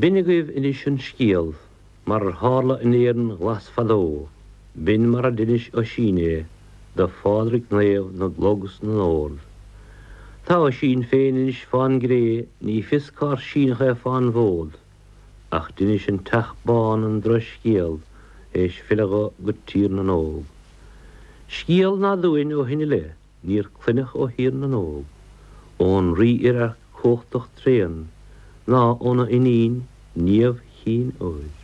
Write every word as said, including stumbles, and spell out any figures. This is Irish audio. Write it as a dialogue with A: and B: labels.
A: B'in agaibh anois an scéal mar a tharla in Éirinn ghlas fadó, b'in mar a d'inis Oisín é do Phádraig Naomh na gclog is na n-ord. Tá Oisín féin anois fán gcré, ní fios cár síneadh é fán bhfód, ach d'inis an teach bán an drochscéal théis filleadh dó go Tír na nÓg. Scéal ná dúinn ó shin i leith níor cluineadh ó Thír na nÓg, ón rí oirearc cumhachtach tréan ná óna iníon Niamh Chinn Óir.